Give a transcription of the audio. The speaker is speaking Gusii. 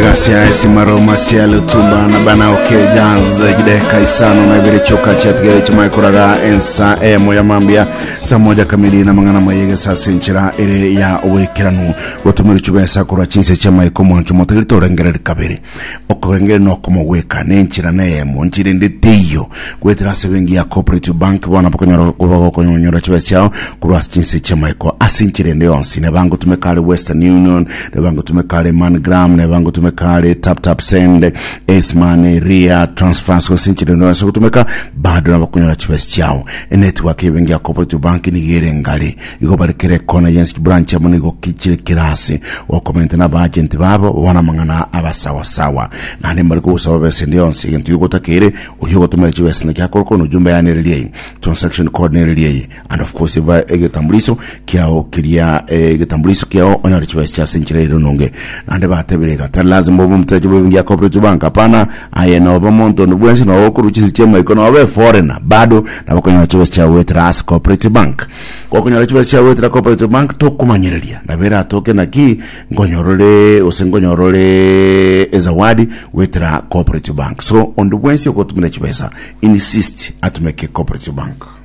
Egasi ya Esimaro Masia Lutumba na bana oke jazz gideka isano na ibere choka chiatigere chimae koraga ensa eyemo ya mambia saa moja kamili na mang'ana maye gesase enchera ere ya oboikeranu gotumera chibesa korwa chinse chiamaiko mwancho motageri torengereri kabere okorengereri nokomogweka na enchera na eyemo nchera ende teiyo goetera ase benki ya Cooperative Bank bono bakonyora bakonyora chibesa chiao korwa ase chinse chiamaiko ase enchera ende yonsi neba ngotumeka are Western Union neba ngotumeka are MoneyGram neba ngotumeka are Tap Tap Send Ace-Money Ria Transfers gose enchera ende yonsi gotumeka bado nabo okonyora chibesa chiao enetwork y'ebenki ya Cooperative Bank nigo ere ngare igo bare kera ekona yensi branch amo nigo chire kera ase gokomenta na abaagenti babo bono amang'ana abasawasawa naende mbare kogosaba besa ende yonsi egento gigotakeire Oria ogotomera chibesa naki akorokwa na ujumbe yaye nere riaye, transaction code nere riaye, and of course eba egetambuliso kiao keria eh, egetambuliso kiao onyore chibesa chia ase enchera ere nonge. Naende batebire iga tari lazima obe omoteja bwe benki ya Cooperative Bank hapana, aye nobe omonto onde bwensi nobe okorwa chinse chia maiko nobe foreigner bado nabo okonyora chibesa chiao goetera ase Cooperative Bank. Gokonyora chibesa chiao goetera Cooperative Bank tokomanyereria nabo eratoke naki Nkonyorore gose nkonyorore ezawadi goetera Cooperative Bank. So onde bwensi ogotumera chibesa insist atumeke Cooperative Bank.